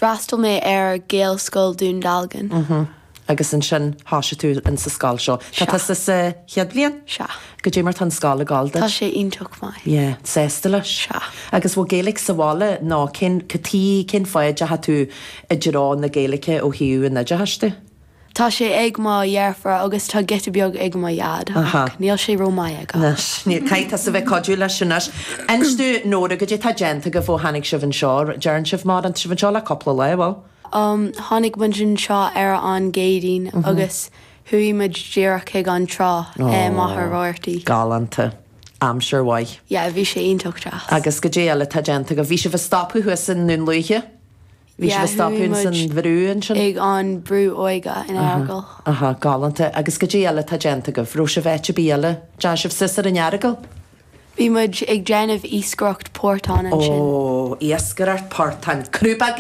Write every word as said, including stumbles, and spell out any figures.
D'fhreastail mé ar Gaelscoil Dún Dealgan. Mm -hmm. Agus ansin thosaigh tú in sa scoil seo. Tá tusa sa chéad bhliain? Sea. Goidé mar tá an scoil ag gabháil duit? Tá sé iontach maith. Yeah, sásta leis? Sea. Agus bhfuil Gaeilge sa bhaile nó cén cad cén fáth a dteachaigh tú i dtreo na Gaeilge ó thaobh an oideachais de? Tá sé ag mo dheirfiúr agus tá giota beag ag mo dhaid ach níl sé ró-mhaith aige. Anois, caithfidh tusa bheith cuidiú leis anois. Inis domh Nóra, goidé tá déanta agaibh ó tháinig sibh anseo, deireann sibh mar an sibh anseo le cúpla lá, bhfuil? Um, tháinig muid anseo ar an gCéadaoin mm -hmm. agus chuaigh muid díreach chuig an trá oh, Machaire Rabhartaigh. Galánta. Aimsir mhaith. Yeah, bhí sé iontach deas. Agus goidé eile tá déanta agaibh bhí sibh ag stopadh thuas i nDún Lúiche? Bhí sibh ag stopadh san bhrú ansin? Ag an brú óige in Earagail. Aha, galánta agus goidé eile tá déanta agaibh, raibh sibh áit ar bith eile, Deachaigh sibh suas ar an Earagail? Bhí muid ag déanamh iascaireacht portán ansin. Ó, iascaireacht portán, crúba